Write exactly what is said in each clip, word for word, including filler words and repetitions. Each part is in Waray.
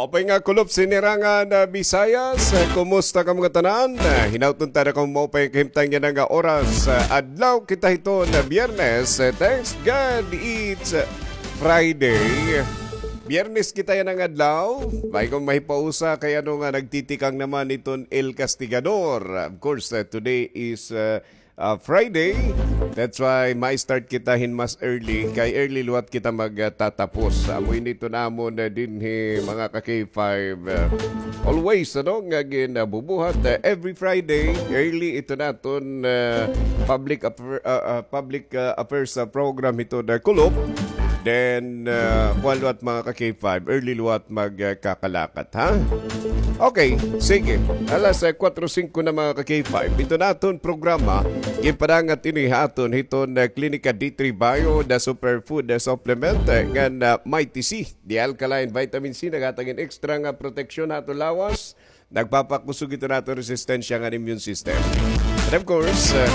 Upay nga kulop sinirangan, ah, Bisayas, ah, kumusta kamo ngatanan? Ah, hinaut unta nga kamo maupay kahimtang yana nga oras. Ah, adlaw kita hiton Biyernes, ah, thanks God it's, ah, Friday. Biyernes kita yana nga adlaw. May kong mahipausa kay ano nga nagtitikang naman iton El Castigador. Of course, ah, today is, ah, ah, Friday. That's why ma-start kita hin mas early. Kay early liwat kita magtatapos. Amo ini iton amon, ah, dinhi, mga ka-K five. Ah, always, ano, nga ginabubuhat, ah, every Friday, early iton aton, ah, public affair-, ah, ah, public, ah, affairs, ah, program hiton, ah, kulop. Then, ah, kuan liwat, mga ka-K five, early liwat magkakalakat, ha? Okay, sige. Alas, ah, kwatro singko na, mga ka-K five. Iton aton programa, ginpadangat ini ha aton hiton, ah, Klinika D three Bio, the superfood, ah, supplement, ah, ngan, ah, Mighty C, the alkaline vitamin C, naghatag hin extra nga proteksyon ha aton lawas. Nagpapakusog iton aton resistensya ngan immune system. And of course, uh,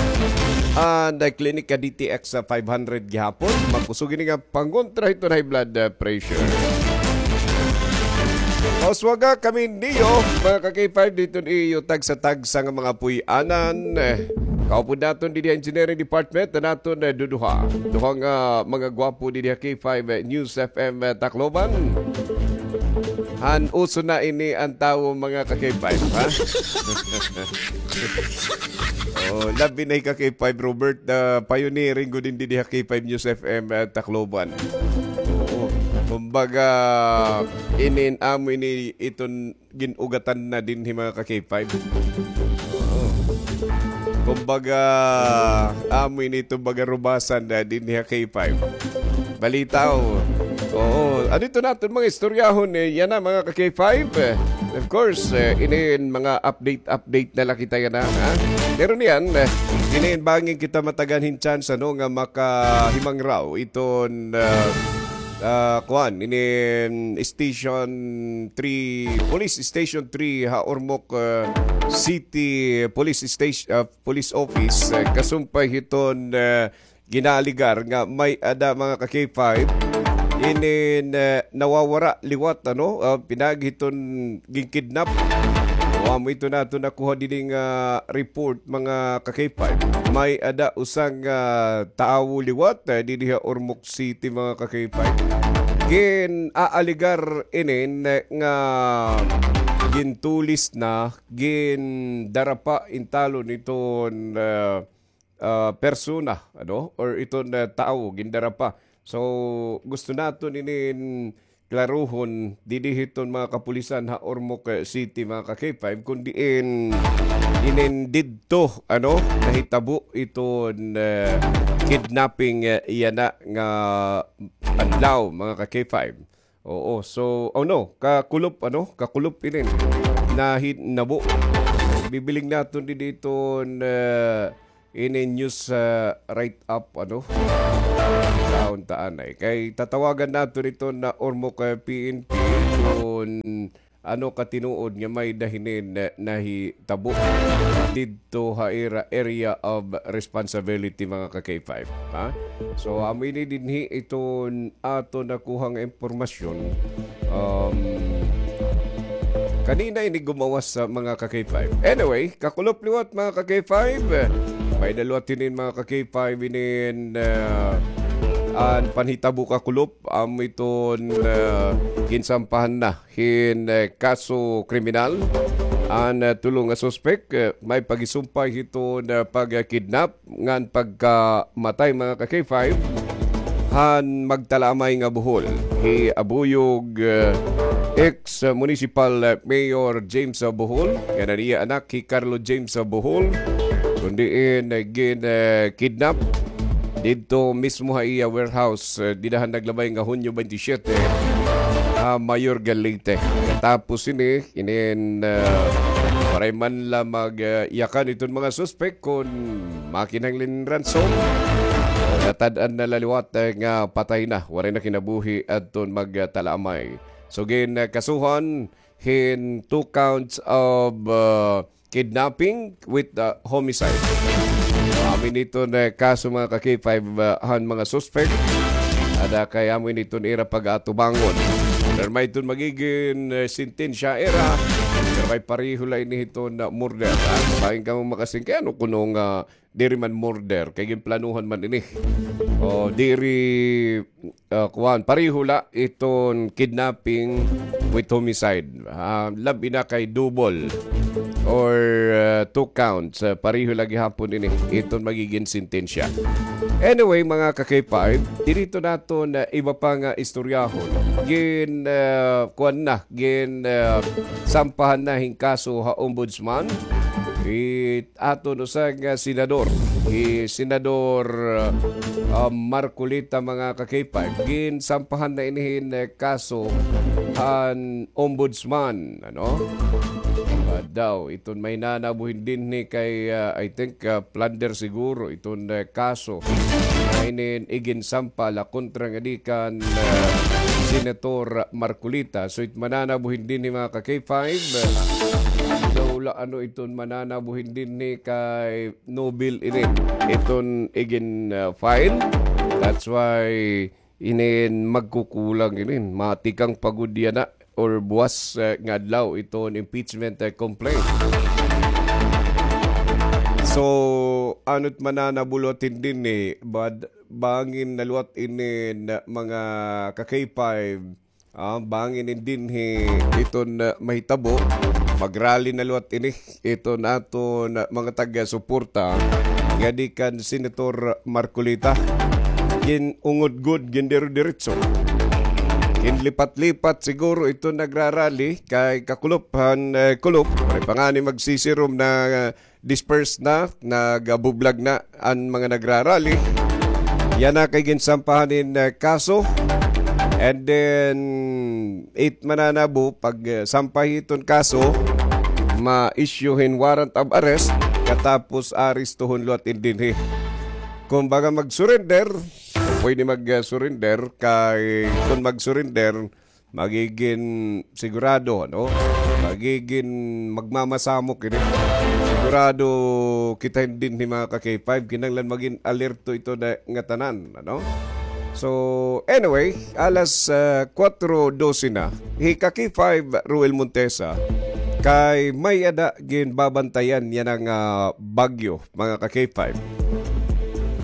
an Klinika D T X five hundred gihapon, makusog ini nga pangontra hiton high blood, uh, pressure. Mauswaga kami niyo, mga ka-K five, didto ha iyo tagsa-tagsa nga mga puy-anan. Eh, kaupod naton didi ha Engineering Department, an aton, eh, duduha. Duha nga mga gwapo didi ha K five, eh, News F M, eh, Tacloban. Han uso na ini an tawo, mga ka-K five, ha? Oh, labi na hi ka-K five Robert, ah, pioneering gud didi ha K five News F M, ah, Tacloban. Oo. Kumbaga, inin amo ini iton gin-ugatan na dinhi, mga ka-K five. Oo. Kumbaga, amo ini iton baga rubasan na dinhi ha K five. Balitaw. Oo. Ano ito naton mga istoryahon, eh? Yana, mga ka-K five. Eh, of course, eh, inin mga update-update na la kita yana, ha? Pero niyan, eh, inin bangin kita matagan hin chance, ano, nga makahimangraw iton, ah, ah, kuan, inin Station three, Police Station three ha Ormoc, ah, City Police Station, ah, Police Office, eh, kasumpay hiton, eh, ginaaligar nga may-ada, mga ka-K five, inin, eh, nawawara liwat, ano, ah, pinaagi hiton ginkidnap. O, amo ito naton nakuha didi nga report, mga ka-K five. May-ada usa nga tawo liwat, eh, didi ha Ormoc City, mga ka-K five. Gin-aaligar inin, eh, nga gintulis na, gindarapa intawon iton, eh, ah, persona, ano, or iton, ah, tawo, gindarapa. So, gusto naton inin klaruhon didi hiton mga kapulisan ha Ormoc, eh, City, mga ka-K five, kun diin inin didto, ano, nahitabo iton, eh, kidnapping, eh, yana nga adlaw, mga ka-K five. Oo, so, oh no, kakulop, ano, kakulop inin nahinabo. Bibiling naton didi iton, eh, ini news, ah, write-up, ano? Kauntaan ay. Kay tatawagan naton iton Ormoc, eh, P N P kun ano ka tinuod nga may-ada hinin, eh, nahitabo didto ha ira area of responsibility, mga ka-K five, ha? So, amo ini dinhi iton aton nakuhang impormasyon. Um, kanina ini gumawas sa mga ka-K five. Anyway, kakulop liwat, mga ka-K five. May-ada liwat hinin, mga ka-K five, inin, ah, an panhitabo kakulop, amo iton, ah, ginsampahan na hin, eh, kaso kriminal an, eh, tulo nga suspek, eh, may pagisumpay hiton, eh, pagkidnap ngan pagkamatay, mga ka-K five, han magtalaamay nga buhol. Hi Abuyog, eh, ex-municipal, eh, Mayor James, eh, Bohol, ngan an iya anak hi Carlo James, eh, Bohol, kun diin, eh, gin, eh, kidnap didto mismo ha iya warehouse, eh, dida han naglabay nga Hunyo twenty-seven, ha Mayor Galite. Katapos ini, inin, eh, waray man la mag, eh, yakan iton mga suspek kun makinahanglan ransom. Natad-an na la liwat, eh, nga patay na, waray na kinabuhi adton magtalaamay. So, gin, eh, kasuhan hin two counts of, uh, kidnapping with, uh, homicide. Amin ito na kaso, mga ka-K five, uh, han mga suspek. Ada kay amo ini iton ira pag-atubangon. Pero may iton magigin, eh, sentensya ira. Pero may pareho la ini iton, ah, murder, ha? Bahin kamo makasing-, kay ano kuno nga diri man murder, kay ginplanuhan man ini. O, diri, ah, kuan, pareho la iton kidnapping with homicide. Ah, labi na kay double or, ah, two counts. Ah, pareho la gihapon ini iton magigin sentensya. Anyway, mga ka-K five, diri to naton, ah, iba pa nga istoryahon. Gin, ah, kuan na, gin, ah, sampahan na hin kaso ha ombudsman. It aton usa nga senador, hi Senador, ah, Marcoleta, mga ka-K five, ginsampahan na ini hin, eh, kaso han ombudsman, ano? Ah, daw, iton may nanabuhin dinhi kay, ah, I think, ah, plunder siguro, iton, eh, kaso. Nga inin iginsampa la kontra ngadi kan, ah, Senator Marcoleta. So, it mananabuhin dinhi, mga ka-K five, ah, daw la ano iton mananabuhin dinhi kay Nobel inin iton igin, ah, file. That's why inin magkukulang inin. Matikang pa gud yana or buwas, ah, nga adlaw iton impeachment, ah, complaint. So, ano't mananabo liwat dinhi, bad-, bangin na liwat inin mga ka-K five, ah, bangin in dinhi iton, ah, mahitabo, mag-rally na liwat ini iton aton, ah, mga taga-suporta ngadi kan Senator Marcoleta. Ginungod gud, gindiro-diretso. Ginlipat-lipat siguro iton nagra-rally kay kakulop han, eh, kulop. Waray pa ngani magsisirom na, ah, disperse na, nagabublag na an mga nagra-rally. Yana kay ginsampahan hin, eh, kaso. And then, it mananabo, pag, eh, sampay iton kaso, ma-issue hin warrant of arrest, katapos arestuhon liwat in dinhi. Kumbaga mag-surrender, pwede mag, eh, surrender, kay kun mag-surrender, magigin sigurado, ano? Magigin magmamasamok ini. Sigurado kita hin dinhi, mga ka-K five, kinahanglan magin alerto ito na ngatanan, ano? So, anyway, alas, ah, kuwatro dose na. Hi ka-K five Ruel Montesa, kay may-ada ginbabantayan yana nga bagyo, mga ka-K five.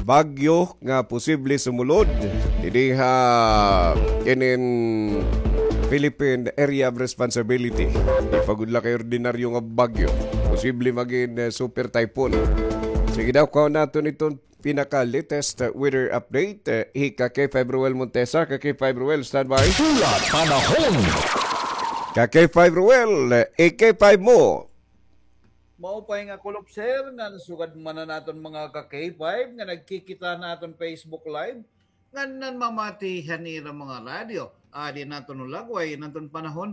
Bagyo nga posible sumulod dinhi ha inin Philippine Area of Responsibility. Di pa gud la kay ordinaryo nga bagyo. Posible magin, eh, super typhoon. Sige daw, kuhaon naton iton pinaka-latest, eh, weather update. Eh, hi ka-K five Ruel Montesa, ka-K five Ruel, standby. Pula Panahon. Ka-K five Ruel, eh, i-K five mo. Maupay nga kulop, sir, ngan sugad man han aton mga ka-K five nga nagkikita han aton Facebook Live, ngan nanmamati han ira mga radyo. Adi an aton lagway han aton panahon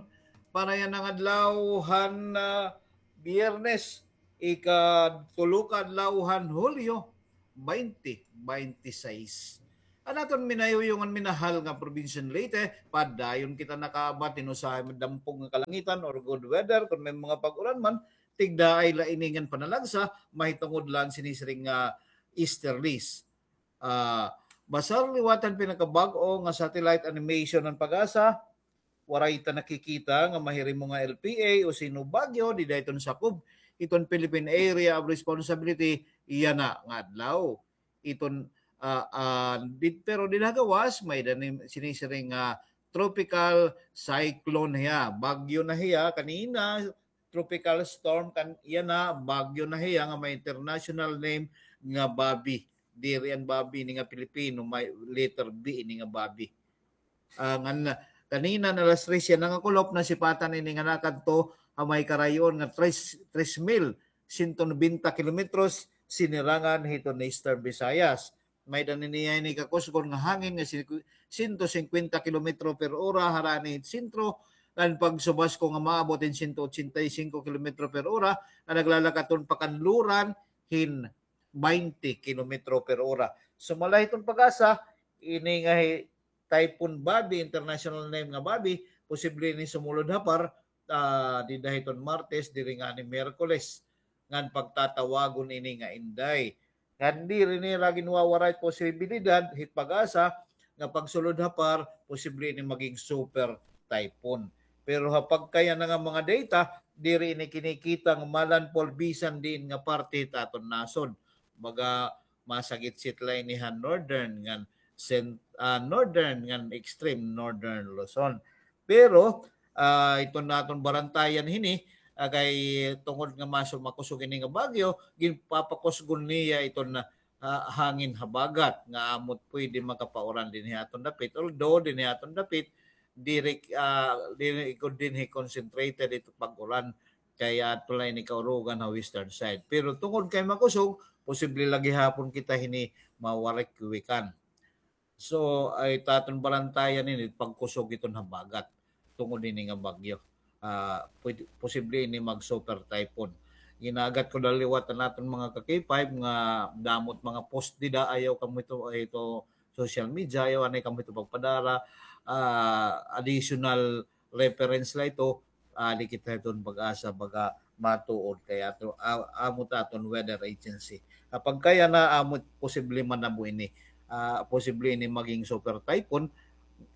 para yana nga adlaw han, ah, Biyernes, ikatulo ka adlaw han Hulyo, twenty twenty-six. An aton minayuyong ngan minahal nga probinsya han Leyte, padayon kita nakaabat hin usahay madampog nga kalangitan or good weather, kon may mga pag-uran man, tigdaay la ini ngan panalagsa, mahitungod la han sinisiring nga easterlies. Ah, basar liwat han pinakabag-o nga satellite animation han PAGASA, waray ta nakikita nga mahirimo nga L P A o sino bagyo dida hiton sakob hiton Philippine Area of Responsibility yana nga adlaw. Iton, ah, ah, did-, pero dida ha gawas, may-ada ni sinisiring nga tropical cyclone hiya. Bagyo na hiya kanina, tropical storm kan-, yana, bagyo na hiya nga may international name nga Babi. Diri an Babi ini nga Pilipino, may letter B ini nga Babi. Ah, ngan kanina nga alas tres yana nga kulop, nasipatan ini nga nakadto ha may karayon nga tres, tres mil sento nobenta kilometros sinirangan hiton Eastern Visayas. May-ada niya ini kakusgon nga hangin nga sinku-, sento singkwenta kilometro per ora harani hit sentro, ngan pagsubasko nga maabot hin sento otsenta y singko kilometro per ora, nga naglalakat-on pakanluran hin twenty kilometro per ora. Sumala hiton PAGASA, ini nga hi-, Typhoon Babi, international name nga Babi, posible ini sumulod ha PAR, ah, dida hiton Martes, diri ngani Miyerkules. Ngan pagtatawagon ini nga Inday. Ngan diri nira ginwawaray posibilidad hit PAGASA nga pagsulod ha par, posible ini maging super typhoon. Pero ha pagkayana nga mga data, diri ini kinikita nga malandfall bisan diin nga parte hit aton nasod. Baga, masagitsit la ini ha northern ngan cent-, ah, northern ngan extreme northern Luzon. Pero, ah, iton naton barantayan hini, ah, kay tungod nga maso makusog ini nga bagyo, ginpapakusgon niya iton, ah, hangin habagat nga amo it pwede makapauran dinhi ha aton dapit. Although dinhi ha aton dapit, diri, ah, diri gud dinhi concentrated ito pag-uran. Kay ato la ini kaurugan ha western side. Pero tungod kay makusog, posible la gihapon kita hini mawarikwikan. So, it aton barantayan ini pagkusog iton habagat tungod hini nga bagyo. Ah, pwede, posible ini mag super typhoon. Ginagat ko la liwat an aton mga ka-K five nga damo it mga post dida, ayaw kamo ito, ito social media, ayaw anay kamo ito pagpadara, ah, additional reference la ito, ah, di kita iton pag-asa baga matuod kay ato, ah, amo it aton weather agency. Ha pagkayana, amo it posible manabo ini, ah, posible ini maging super typhoon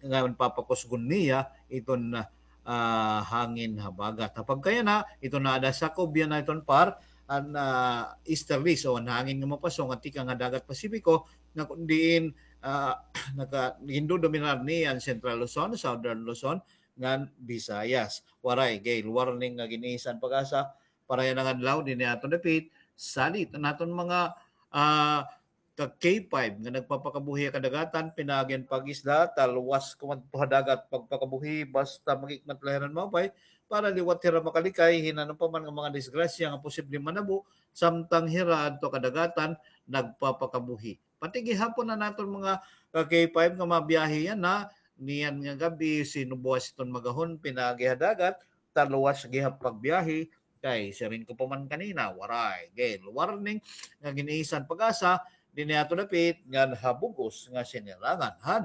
nga papakusgon niya iton, ah, hangin habagat. Ha pagkayana, iton naada sakob yana iton par an, ah, easterlies o an hangin nga mapasong nga tikang ha dagat Pasipiko nga kun diin, ah, naka-, gindodominar niya an Central Luzon, Southern Luzon, ngan Visayas. Waray gale warning nga gin-isa an PAGASA para yana nga adlaw dinhi ha aton dapit. Salit an aton mga, ah, ka-K five nga nagpapakabuhi ha kadagatan, pinaagi han pag-isda, talwas kumadto ha dagat pagpakabuhi, basta maghikmat la hira hin maupay, para liwat hira makalikay hin ano pa man nga mga disgrasya nga posible manabo, samtang hira adto ha kadagatan nagpapakabuhi. Pati gihapon an aton mga ka-K five nga mabiyahe yana, niyan nga gab-i, sinubuas iton magahon, pinaagi ha dagat, talwas gihap pagbiyahe, kay siring ko pa man kanina, waray gale warning nga gin-isa han PAGASA dinhi ha aton dapit ngan ha bug-os nga sinirangan han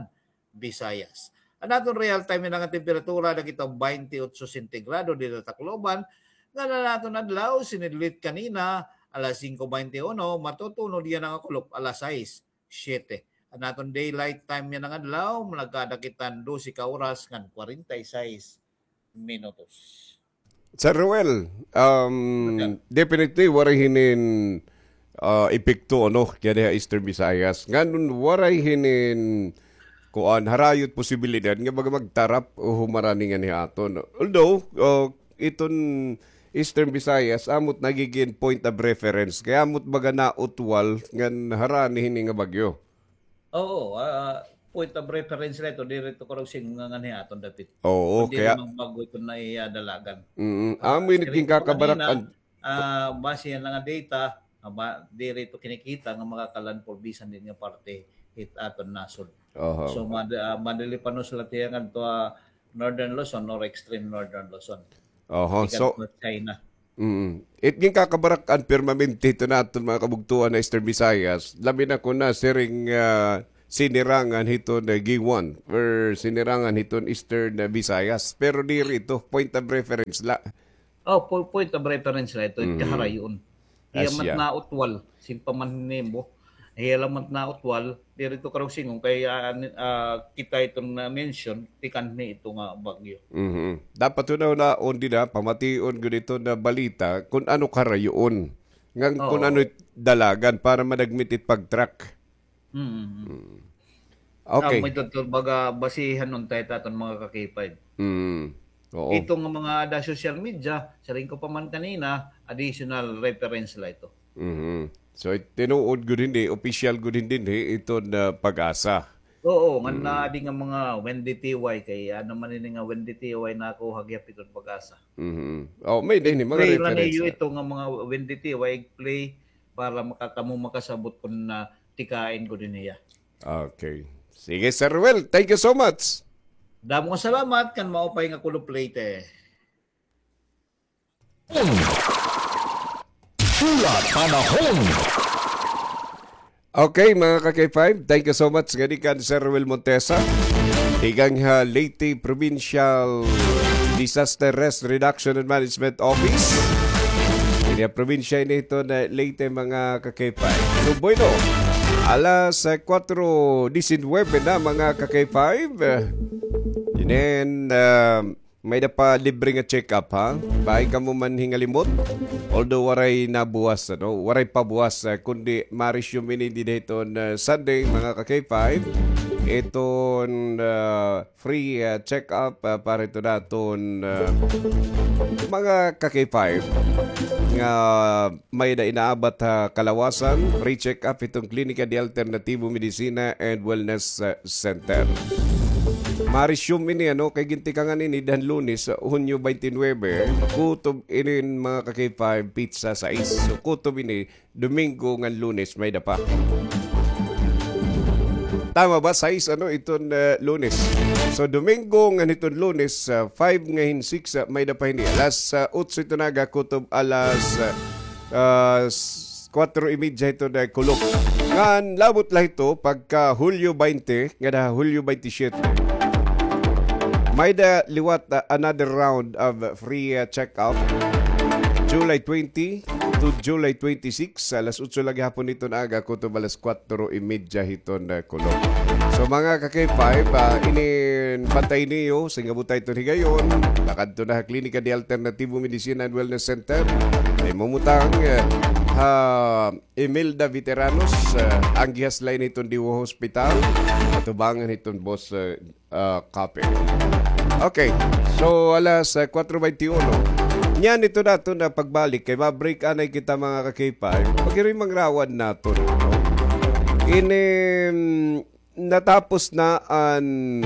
Visayas. An aton real time yana nga temperatura, nakita baynte otso sentigrado dida ha Tacloban, ngan an aton adlaw, sinidlit kanina, alas singko baynte uno, matutunod yana nga kulop, alas sais, siyete. An aton daylight time yana nga adlaw, nagkada kita hin dose ka oras ngan kwarenta y sais minutos. Sir Ruel, um, definitely, waray hinin, ah, epekto, ano, kay dinhi ha Eastern Visayas. Ngan waray hinin, kuan, harayo it posibilidad nga baga magtarap o humarani nganhi ha aton. Although, ah, iton Eastern Visayas, amo it nagigin point of reference. Kay amo it baga nautwal ngan harani hini nga bagyo. Oo, ah, point of reference la ito, diri ito karuyag sidngon nga nganhi ha aton dapit. Oo, kundi kay diri man bag-o ito nga iya dalagan. Mm, ah, amo ini it siring ko pa ginkakabarak-an kanina, ah, base yana nga data, ah, ba-, diri ito kinikita nga makaka-landfall bisan diin nga parte hit aton nasod. Aha. So, mad-, ah, madali pa, no, sila tiya ngadto, ah, Northern Luzon or extreme Northern Luzon. Oho, so, China. Mm. It ginkakabarak-an permanente hiton aton mga kabugtoan ha Eastern Visayas, labi na kon siring, ah, sinirangan hiton, ah, Guiuan or sinirangan hiton Eastern, ah, Visayas. Pero diri ito, point of reference la. Oh, po-, point of reference la ito, it kaharayoon. Hiya man nautwal, siring pa man nimo. Hiya la man nautwal, diri ito karuyag sidngon kay, ah, an-, ah, kita iton na-mention, tikang hini ito nga bagyo. Mhm. Dapat hunahunaon dida, pamation gud ito nga balita kon ano karayoon. Ngan kon ano it dalagan para madagmit it pag-track. Mm. Okay. Amo ito, baga basihan unta it aton mga ka-K five. Mm. Oo. Ito nga mga ada social media, siring ko pa man kanina, additional reference la ito. Mhm. So, it tinuod gud hini, opisyal gud hini, ito nga PAGASA. Oo, ngan adi nga mga Wendy T Y, kay ano man ini nga Wendy T Y nakuha gihap iton PAGASA. Mhm. Oh, may-ada hini mga reference la. I-play la niyo ito nga mga Wendy T Y, i-play para makakamo makasabot kon tikain gud ini hiya. Okay. Sige, Sir Ruel. Thank you so much. Damo nga salamat, ngan maupay nga kulop Leyte. Pula Panahon. Okay, mga ka-K five, thank you so much. Ngani kan Sir Ruel Montesa, tikang ha Leyte Provincial Disaster Risk Reduction and Management Office. Ini ha probinsya ini hiton Leyte, mga ka-K five. So, bueno, Alas, ah, kuwatro disinwebe na, mga ka-K five. Inin, ah, may-ada pa libre nga check-up, ha? Bangin kamo man hingalimot. Although waray nabuwas, ano? Waray pa buwas, ah, kundi ma-resume ini dida hiton, ah, Sunday, mga ka-K five. Iton, ah, free, ah, check-up, ah, para hiton aton, ah, mga ka-K five nga may-ada inaabat ha kalawasan, free check-up hiton Klinika de Alternativo Medicina and Wellness, ah, Center. Ma-resume ini, ano, kay gintikangan ini dida han Lunes, ah, Hunyo twenty-nine, kutob inin, mga ka-K five, petsa sais. So, kutob ini, Domingo ngan Lunes, may-ada pa. Tama ba? Sais, ano, iton, ah, Lunes. So, Domingo ngan hiton Lunes, ah, five ngan hin six, ah, may-ada pa hini. Alas, ah, otso hiton aga, kutob alas, ah, ah, s-, kuwatro y medya hiton, ah, kulop. Ngan labot la hito, pagka Hulyo twenty, ngada Hulyo twenty-seven. May-ada liwat, ah, another round of free, ah, check-up. July twenty to July twenty-six, alas otso la gihapon hiton aga, kutob alas kuwatro y medya hiton, ah, kulop. So, mga ka-K five, ah, inin bantay niyo, singabot ta hiton higayon, pakadto na ha Klinika de Alternativo Medicina and Wellness Center. Ay mamutang, ah, ha Imelda Veteranos, ah, ang gihas-an la ini hiton Diwa Hospital, atubangan hiton Boss, ah, ah, Kape. Okay. So, alas, ah, kuwatro bente uno. Niyan ito naton na pagbalik kay ma-break anay kita, mga ka-K five. Paghirimangrawon naton, no? Ini, mm, natapos na an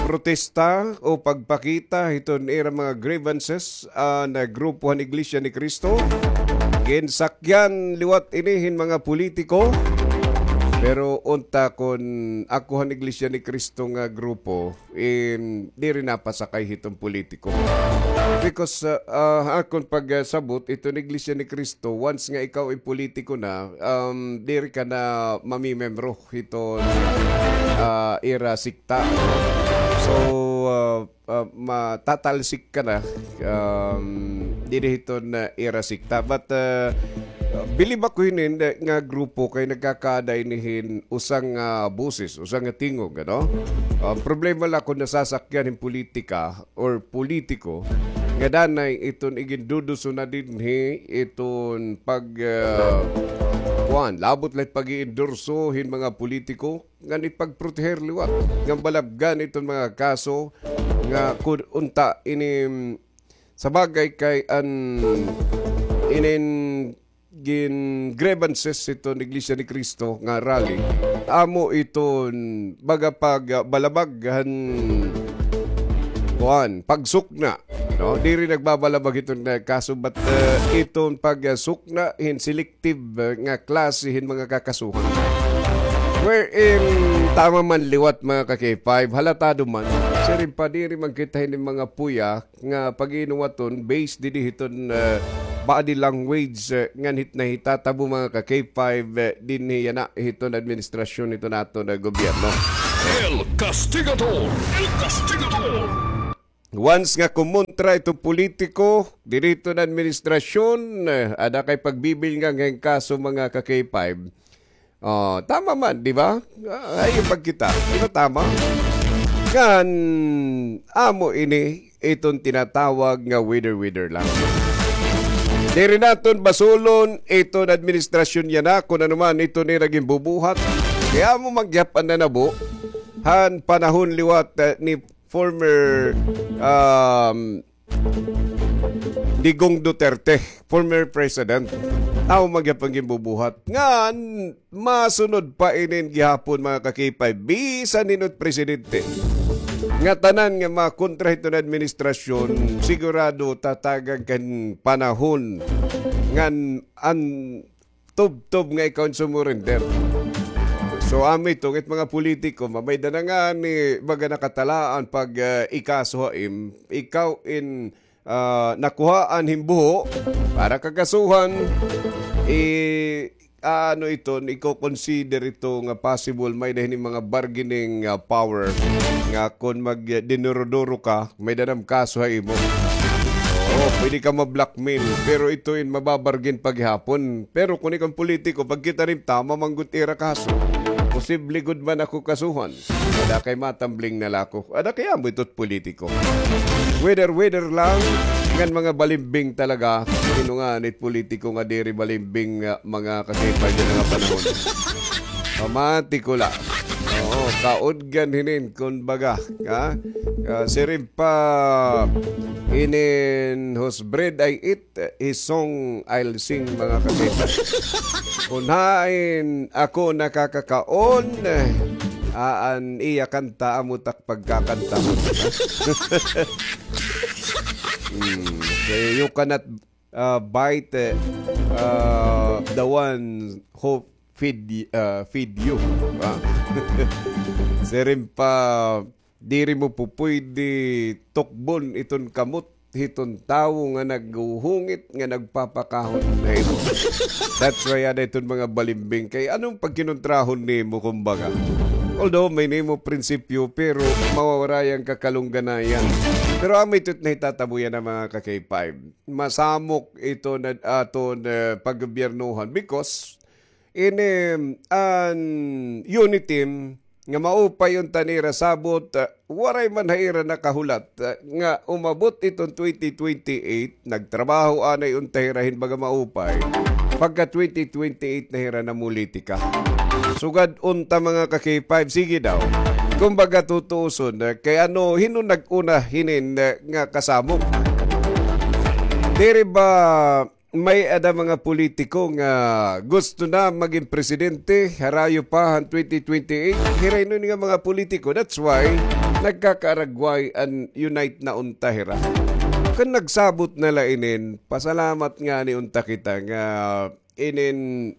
protesta o pagpakita hiton ira mga grievances an, ah, grupo han Iglesia ni Cristo. Ginsakyan liwat ini hin mga politiko. Pero unta kon ako han Iglesia ni Cristo nga grupo, em, diri napasakay hiton politiko. Because, ah, ah, akon pagsabot, iton Iglesia ni Cristo, once nga ikaw ay politiko na, um, diri ka na mamimembro hiton, ah, ira sikta. So, ah, ah, matatalsik ka na, um, diri hiton, ah, ira sikta. But, ah, bilib ako hinin, eh, nga grupo kay nagkakaada ini hin usa nga boses, usa nga tingog, ano? Ah, problema la kon nasasakyan hin politika or politiko, nga danay iton iginduduso na dinhi, iton pag, ah, kuan, labot la it pag-iendorso hin mga politiko, ngan ipagproteher liwat, ngan balabgan iton mga kaso nga kun unta ini, sa bagay kay an inin gin-grievances hiton Iglesia ni Cristo nga rally, amo iton baga pagbalabag han kuan, pagsukna, no? Diri nagbabalabag hiton, eh, kaso, but, eh, iton pagsukna hin selective, eh, nga klase hin mga kakasuhan. Wherein, tama man liwat, mga ka-K five, halatado man, siring pa, diri man kita hini mga puya nga pag-inuwaton based didi hiton, eh, body language, eh, ngan hit nahitatabo, mga ka-K five, eh, dinhi yana hiton administrasyon hiton aton gobyerno. El Castigador! El Castigador! Once nga kumontra iton politiko didi hiton administrasyon, eh, ada kay pagbibilngan nga hin kaso, mga ka-K five. Oh, tama man, di ba? Ah, ay, pagkita. Di ba tama? Ngan, amo ini, iton tinatawag nga wither-wither lang. Diri naton basulon iton administrasyon yana, kun ano man iton ira ginbubuhat. Kay amo man gihap an nanabo han panahon liwat, eh, ni former, um, Digong Duterte, former president. Amo man gihap an ginbubuhat. Ngan, masunod pa inin gihapon, mga ka-K five, bisan hin-o it presidente nga tanan nga makontra hiton administrasyon, sigurado tatagan kan panahon ngan an tubtob nga ikaw sumurrender. So, amo iton it mga politiko, mamayda na ngani, baga nakatalaan pag, ah, ikaso ha im, ikaw in, ah, nakuhaan hin buho para kakasuhan, i-, ano iton, iko-consider ito nga possible may-ada hini mga bargaining, ah, power nga kon mag, ah, dinuro-duro ka, may-ada na kaso ha imo. So, Oh, pwede ka ma-blackmail, pero ito in mababargain pa gihapon. Pero kun ikaw politiko, pagkita nim tama man gud ira kaso. Posible gud man ako kasuhan. Ada kay matambling na la ako. Ada kay amo ito't politiko. Weather, weather lang. Ngan mga balimbing talaga. Sino nga nit politiko nga diri balimbing, ah, mga kakipay nga panahon? Pamati ko la. Oo, kaudgan hinin, kun baga. Ha? Ah, siring pa inin whose bread I eat, his song I'll sing, mga kakita. Kun hain ako nakakakaon, ah, an iya kanta, amo tak pagkakanta mo. Hmm, so you cannot, ah, bite, ah, the one who feed, ah, feed you. Ah. Siring pa, diri mo pupuydi tukbon iton kamot hiton tawo nga naghuhungit, nga nagpapakahon ha imo. That's why ada iton mga balimbing kay ano an pagkinontrahon nimo, kumbaga. Although may nimo prinsipyo, pero mawawara an kakalungganayan. Pero amo ito't nahitatabo yana, mga ka-K five. Masamok ito na aton, eh, paggobyernohan because ini an UNITIM nga maupay unta nira sabot, ah, waray man ha ira nakahulat, ah, nga umabot iton twenty twenty-eight, nagtrabaho anay unta hira hin baga maupay. Pagka twenty twenty-eight na hira namulitika. Sugad unta, mga ka-K five, sige daw. Kumbaga tutuuson, ah, kay ano, hin-o nag-una hinin, ah, nga kasamok? Diri ba may ada mga politiko nga gusto na magin presidente, harayo pa han twenty twenty-eight. Hira ini nga mga politiko. That's why nagkakaaragway an UNITE na unta hira. Kun nagsabot na la inin, pasalamat ngani unta kita nga inin,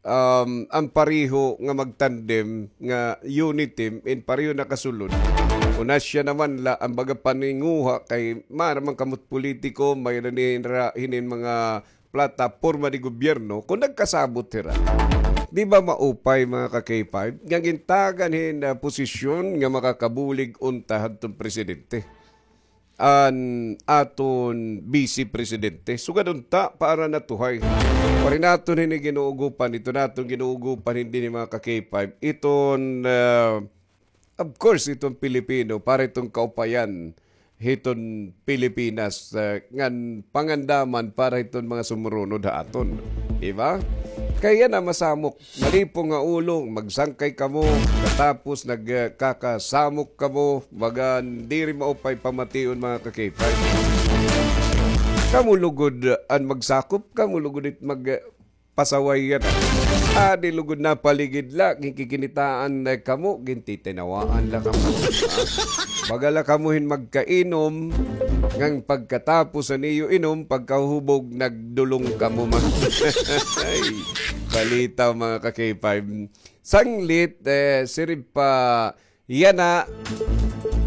um, an pareho nga magtandem nga UNITIM in pareho nakasulod. Kun asya naman la an baga paninguha kay maaram man kamo't politiko, may-ada hira hinin mga plataporma de gobyerno, kun nagkasabot hira. Di ba maupay, mga ka-K five, nga gintagan hin, ah, posisyon nga makakabulig unta hadton presidente an aton Vice Presidente? Sugad unta, para natuhay. Waray naton hini ginuugopan, ito naton ginuugopan, hindi ni mga ka-K five. Iton, ah, of course, iton Pilipino, para iton kaupayan hiton Pilipinas, ah, ngan pangandaman para hiton mga sumurunod ha aton. Di ba? Kay yana masamok, malipong nga ulo, magsangkay kamo, katapos nagkakasamok kamo, baga diri maupay pamation, mga ka-K five. Kamo lugod an magsakop, kamo lugod it mag, pasaway yana. Adi lugod napaligid la, ginkikinitaan la kamo, gintitinawaan la kamo. Ha? Baga la kamo hin magkainom, ngan pagkatapos han iyo inom, pagkahubog, nagdulong kamo man. Ay, balita, mga ka-K five. Sanglit, eh, siring pa yana,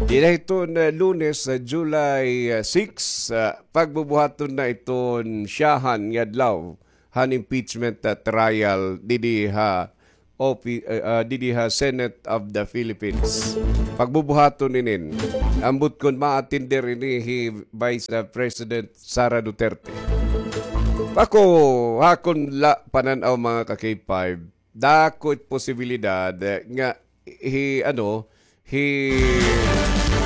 dida hiton, eh, Lunes, eh, July, eh, six, eh, pagbubuhaton na iton syahan nga adlaw han impeachment, ah, trial didi ha opi-, ah, ah, didi ha Senate of the Philippines. Pagbubuhaton inin, ambot kon ma-attender ini hi Vice, ah, President Sara Duterte. Ako, ha akon la panan-aw, mga ka-K five, dako it posibilidad, eh, nga hi, ano, hi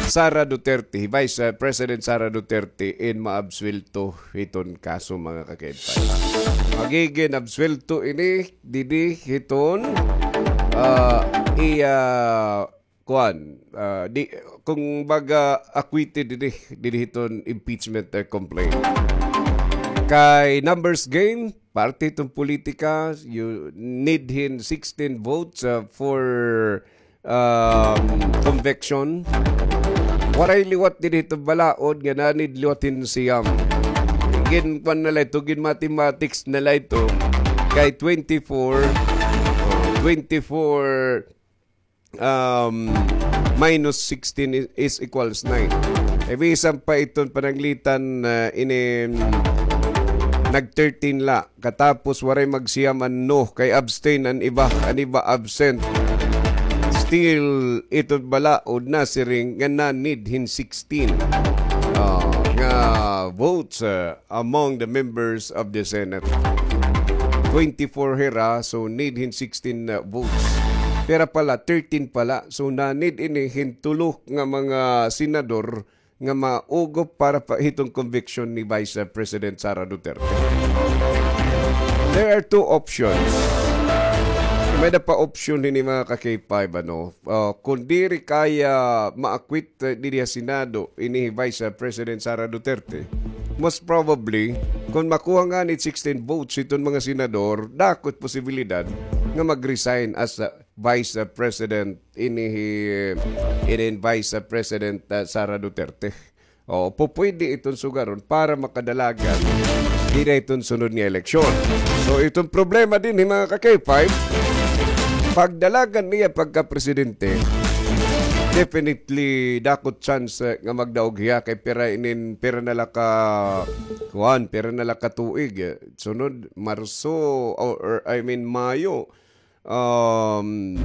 Sara Duterte, hi Vice, eh, President Sara Duterte in maabsuwelto hiton kaso, mga ka-K five. Magigin absuwelto ini didi hiton, ah, iya, kuan, ah, di, kumbaga, acquitted didi, didi hiton impeachment, eh, complaint. Kay numbers game, parte hiton politika, you need hin sixteen votes, ah, for, um, conviction. Waray liwat didi hiton balaod nga na-need liwat hin siyam. Ginkuan na la ito, gin-mathematics na la ito. Kay twenty-four, twenty-four, um, minus sixteen is, is equals nine. E bisan pa iton pananglitan, ah, ini, nag-thirteen la. Katapos waray magsiyam an no, kay abstain an iba, an iba absent. Still, ito balaod nasiring nga na-need hin sixteen, ah, nga votes, ah, among the members of the Senate. Twenty-four hira, so need hin sixteen, ah, votes. Pira pala, thirteen pala. So na-need ini hin tulo nga mga senador nga maugop para pa hiton conviction ni Vice President Sara Duterte. There are two options. May-ada pa option hini, mga ka-K five, ano, ah, kung diri kaya ma-acquit, eh, didi ha Senado ini hi Vice President Sara Duterte, most probably, kung makuha ngani sixteen votes hiton mga senador, dako it posibilidad nga mag-resign as, ah, Vice, ah, President ini hi, ini Vice, ah, President, ah, Sara Duterte. O, pupwede iton sugaron para makadalagan dida hiton sunod nga eleksyon. So, iton problema dinhi, mga ka-K five, pagdalagan niya pagka-presidente, definitely dako it chance, eh, nga magdaog hiya kay pira inin, pira na la ka, kuan, pira na la ka tuig, eh. Sunod, Marso, or, or, I mean, Mayo, um,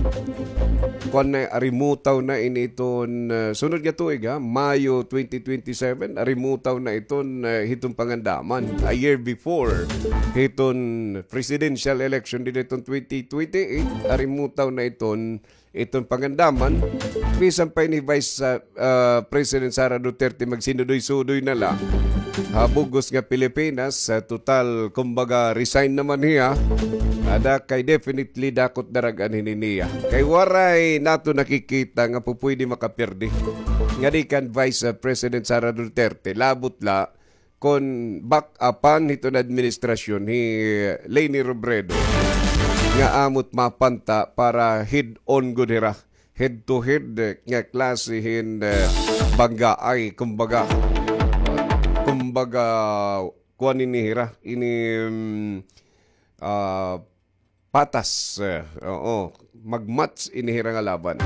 kuan na, arimutaw na ini iton, uh, sunod nga tuig, ha, Mayo twenty twenty-seven, arimutaw na iton, uh, hiton pangandaman. A year before hiton presidential election dida hiton twenty twenty-eight, arimutaw na iton, iton pangandaman. Bisan pa ini Vice, uh, ah, President Sara Duterte magsinudoy-sudoy na la ha bug-os nga Pilipinas, ah, total, kumbaga, resign naman hiya. Ada kay definitely dako it darag-an hini niya. Kay waray naton nakikita nga pupwede makapirdi ngadi kan Vice, ah, President Sara Duterte. Labot la kon back-upan hiton administrasyon hi Leni Robredo nga amo it mapanta para head-on gud hira head-to-head, eh, nga klase hin, eh, banggaay, kumbaga. Kumbaga, kuan ini hira, ini, mm, ah, patas, eh, oo, mag-match ini hira nga laban.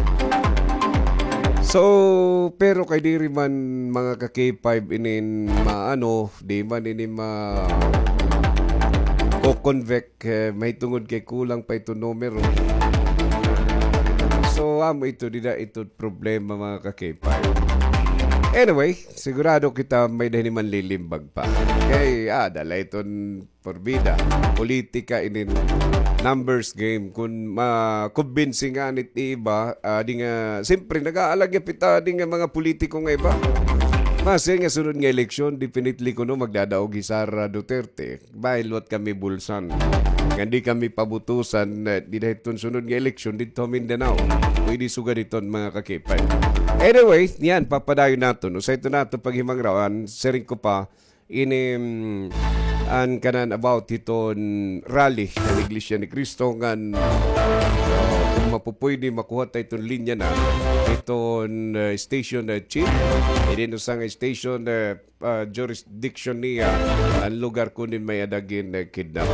So, pero kay diri man, mga ka-K five, inin maano, di man ini ma-, ko-convict, eh, mahitungod kay kulang pa iton numero. So, amo ito, dida ito problema, mga ka-K five. Anyway, sigurado kita may-ada hini manlilimbag pa. Kay, ah, dala iton porbida. Politika inin numbers game. Kun makumbinsi ngani it iba, ah, di nga, siyempre, nag-aalag gihap it, ah, di nga mga politiko nga iba. Masi nga sunod nga eleksyon, definitely kuno magdadaog hi Sara Duterte. Dahil liwat kami bulsan. Nga di kami pabutusan, eh, dida hiton sunod nga eleksyon didto ha Mindanao. Pwede sugad hiton, mga ka-K five. Anyway, niyan, papadayon naton. Usa ito naton paghimangrawan, siring ko pa, ini, mm, an kanan about hiton rally han Iglesia ni Cristo ngan, uh, kun mapupwede makuha ta iton linya na hiton, uh, station, uh, chief. Ini usa nga station, uh, ah, jurisdiction niya an lugar kunin may-ada gin-, eh, kidnap.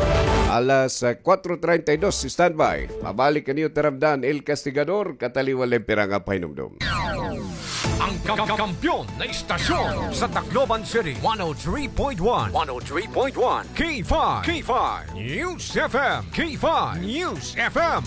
Alas, ah, kuwatro treinta y dos, standby. Mabalik kaniyo taramdan, El Castigador, kataliwan la piranga pahinumdom. Ang ka-, kampiyon na istasyon sa Tacloban City, one oh three point one, one oh three point one, K five, K five. News F M, K five News F M.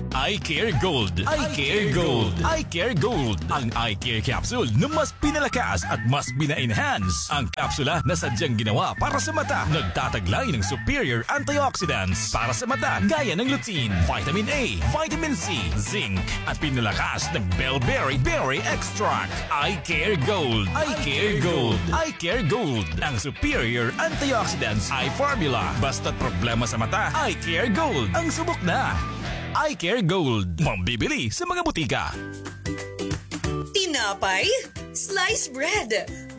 Eye Care Gold. Eye Care Gold. Eye Care Gold. Ang Eye Care Capsule na mas pinalakas at mas pina-enhance. Ang kapsula na sadyang ginawa para sa mata. Nagtataglay ng superior antioxidants para sa mata, gaya ng lutein, vitamin A, vitamin C, zinc, at pinalakas ng bellberry berry extract. Eye Care Gold. Eye Care Gold. Eye Care Gold. Ang superior antioxidants eye formula. Basta't problema sa mata, Eye Care Gold ang subok na. Eye Care Gold. Mabibili sa mga butika. Tinapay, slice bread.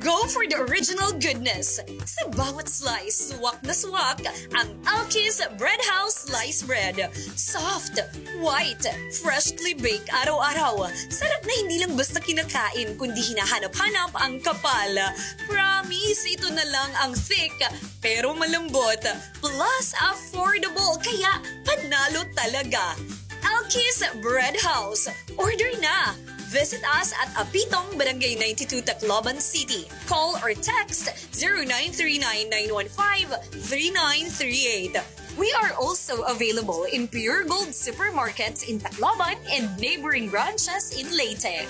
Go for the original goodness. Sa bawat slice, swak na swak ang Alki's Bread House Slice Bread. Soft, white, freshly baked araw-araw. Sarap na hindi lang basta kinakain, kundi hinahanap-hanap ang kapal. Promise, ito na lang ang thick, pero malambot. Plus, affordable, kaya panalo talaga. Alki's Bread House. Order na! Visit us at Apitong, Barangay ninety-two, Tacloban City. Call or text zero nine three nine, nine one five, three nine three eight. We are also available in Pure Gold supermarkets in Tacloban and neighboring branches in Leyte.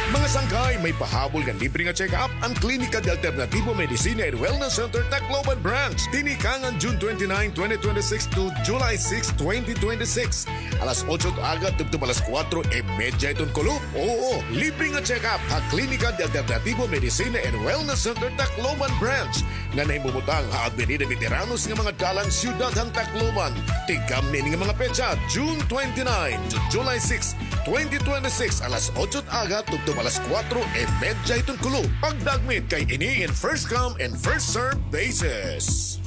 Mga sangkay, may pahabol nga libre nga check-up an Klinika de Alternativo Medicina and Wellness Center Tacloban Branch. Tinikangan June twenty-nine, twenty twenty-six to July six, twenty twenty-six. Alas otso it aga tubtob alas kuwatro y medya hiton kulop. Oo, libre nga check-up ha Klinika de Alternativo Medicina and Wellness Center Tacloban Branch nga nahimumutang ha Avenida Veteranos nga mga dalan, siyudad han Tacloban. Tigkamni ini nga mga petsa, June twenty-nine to July six, twenty twenty-six, alas otso it aga tubtob alas kuwatro y medya hiton kulop. Pagdagmit kay ini in first come and first serve basis.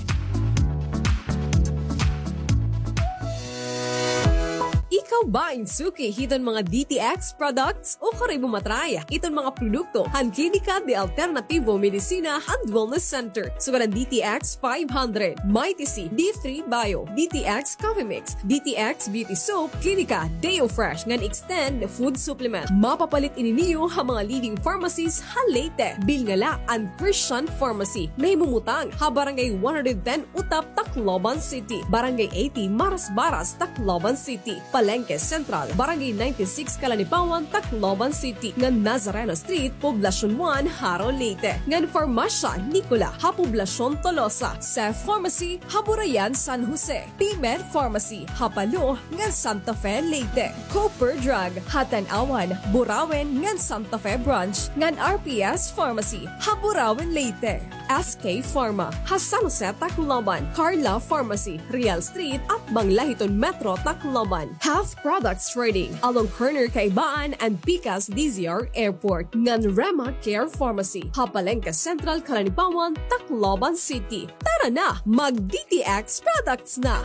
Ikaw ba in suki hiton mga D T X products? Ukari mo matry iton mga produkto han Klinika de Alternativo Medicina and Wellness Center. Sugad an D T X five hundred, Mighty C, D three Bio, D T X Coffee Mix, D T X Beauty Soap, Klinika Deo Fresh ngan Extend Food Supplement. Mapapalit ini niyo ha mga leading pharmacies ha Leyte. Bilnga la an Christian Pharmacy. Nahimumutang ha Barangay one hundred ten Utap, Tacloban City, Barangay eighty Marasbaras, Tacloban City, Palengke Central, Barangay ninety-six Calanipawan, Tacloban City, ngan Nazareno Street, Poblacion one, Jaro, Leyte, ngan Farmasya Nicola ha Poblacion Tolosa, Seth Pharmacy ha Burayan, San Jose, P-Med Pharmacy ha Palo ngan Santa Fe, Leyte, Cooper Drug ha Tanauan, Burauen ngan Santa Fe Branch, ngan R P S Pharmacy ha Burauen, Leyte. S K Pharma ha San Jose, Tacloban, Carla Pharmacy, Real Street, atbang la hiton Metro Tacloban. Half Products Trading, along corner Kaibaan and Pikas D Z R Airport, ngan Rema Care Pharmacy ha Palengke Central, Calanipawan, Tacloban City. Tara na, mag D T X products na!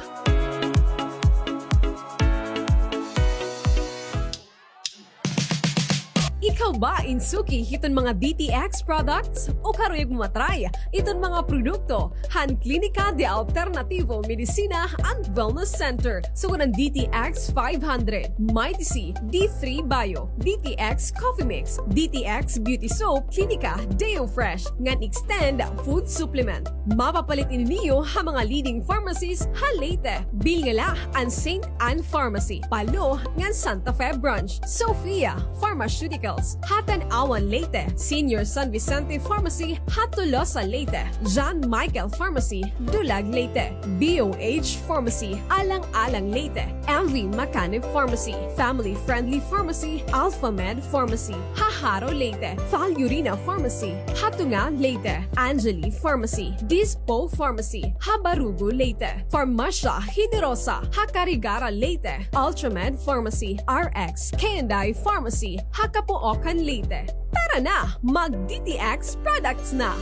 Ikaw ba in suki hiton mga D T X products? Ukari mo matry iton mga produkto han Klinika de Alternativo Medicina and Wellness Center. Sugad an D T X five hundred, Mighty C, D three Bio, D T X Coffee Mix, D T X Beauty Soap, Klinika Deo Fresh, ngan Extend Food Supplement. Mapapalit ini niyo ha mga leading pharmacies ha Leyte. Bilnga la an Saint Ann Pharmacy, Palo, ngan Santa Fe Branch, Sophia Pharmaceuticals ha Tanauan, Leyte, Senior San Vicente Pharmacy ha Tolosa, Leyte, John Michael Pharmacy, Dulag, Leyte, B O H Pharmacy, Alang-alang, Leyte, M V Macanib Pharmacy, Family Friendly Pharmacy, Alpha Med Pharmacy ha Jaro, Leyte, Val Urina Pharmacy ha Tunga, Leyte, Angeli Pharmacy, Dispo Pharmacy ha Barugo, Leyte, Farmasya Generosa ha Carigara, Leyte, Ultramed Pharmacy, R X K and I Pharmacy ha Capoocan, Leyte. Tara na, mag D T X products na!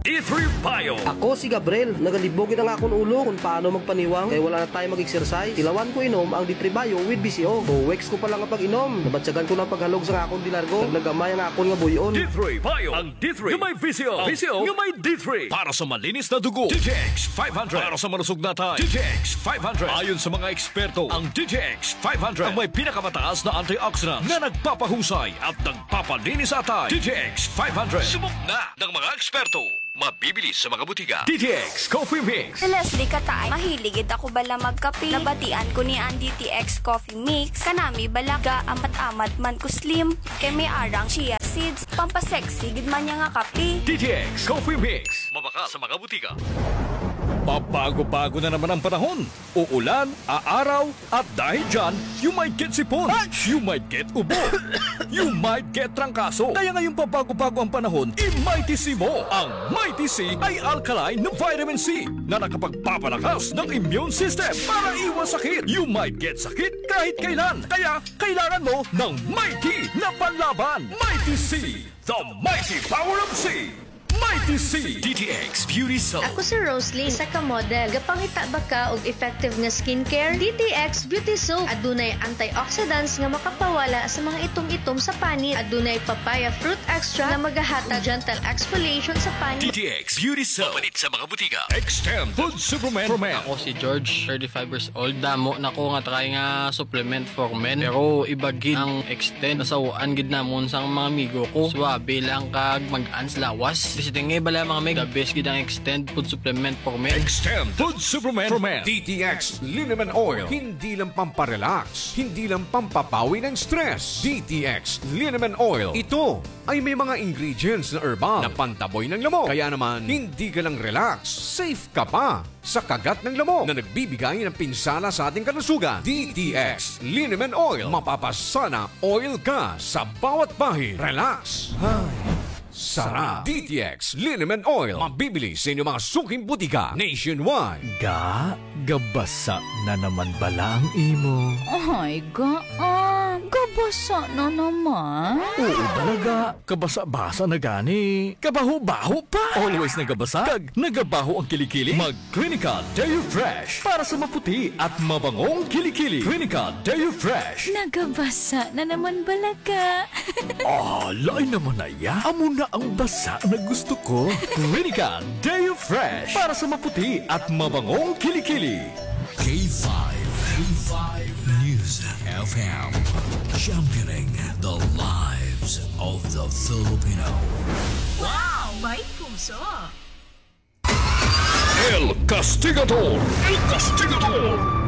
D three Bio. Ako si Gabriel. Nagalibog gid an akon ulo kon paano magpaniwang kay wala na tayo mag-exercise. Tilawan ko inom ang D three Bio with V C O. Two weeks ko pa lang nga pag-inom, nabatyagan ko na an paghalog sa akon de largo. Nagnagamay an akon nga buy-on. D three Bio. Ang D three nga may V C O. V C O nga may D three. Para sa malinis na dugo, D T X five hundred. Para sa malusog na atay, D T X five hundred. Ayon sa mga eksperto, ang D T X five hundred ang may pinakamataas na antioxidant na nagpapahusay at nagpapalinis sa atay. D T X five hundred. Subok na ng mga eksperto. Mabibili sa mga butika. D T X Coffee Mix. Si Leslie Katay, mahilig gid ako bala magkape. Nabatian ko ni an D T X Coffee Mix. Kanami bala ga-amat-amat man ko slim. Kay may arang chia seeds. Pampasexy gid man niya nga kape. D T X Coffee Mix. Mabakal sa mga butika. Pabago-bago na naman ang panahon. Uulan, aaraw, at dahil dyan, you might get sipon, you might get ubo, you might get trangkaso. Kaya ngayong pabago-bago ang panahon, i-Mighty C mo. Ang Mighty C ay alkaline na vitamin C na nakapagpapalakas ng immune system para iwas sakit. You might get sakit kahit kailan. Kaya kailangan mo ng Mighty na panlaban. Mighty C, the mighty power of C. Mighty C. D T X Beauty Soap. Ako si Roslyn, isa ka model. Gapangita ba ka og effective nga skincare? D T X Beauty Soap. Adunay antioxidants nga makapawala sa mga itom-itom sa panit. Adunay papaya fruit extract nga magahatag gentle exfoliation sa panit. D T X Beauty Soap. Mapalit sa mga butika. Extend Food Supplement for Men. Ako si George, thirty-five years old. Damo na ko nga try nga supplement for men. Pero iba gid ang Extend. Nasaw-an gid namon sang mga amigo ko. Suabe lang kag mag-ans lawas. Siting nga bala, mga mig, the best gid ang Extend Food Supplement for Men. Extend Food Supplement for Men. D T X Liniment Oil. Hindi lang pamparelax, hindi lang pampapawi ng stress. D T X Liniment Oil. Ito ay may mga ingredients na herbal na pantaboy ng lamok. Kaya naman, hindi ka lang relax, safe ka pa sa kagat ng lamok na nagbibigay ng pinsala sa ating kalusugan. D T X Liniment Oil. Mapapasana oil ka sa bawat bahid. Relax. Ay, sarap. D T X Liniment Oil. Mabibili sa inyong mga suking butika nationwide. Ga, gabasa na naman bala ang imo. Ay, ga, ah, gabasa na naman. Oo, bala, ga. Kabasa-basa na gani. Kabaho-baho pa. Always nagabasa. Kag nagabaho ang kilikili. Mag Clinical Deo Fresh para sa maputi at mabangong kilikili. Clinical Deo Fresh. Nagabasa na naman bala, ga. Ah, lain naman na iya. Amo na ang basa na gusto ko. Clinical Deo Fresh para sa maputi at mabangong kilikili. K five, K five News F M, championing the lives of the Filipino. Wow! May puso! El Castigador! El Castigador!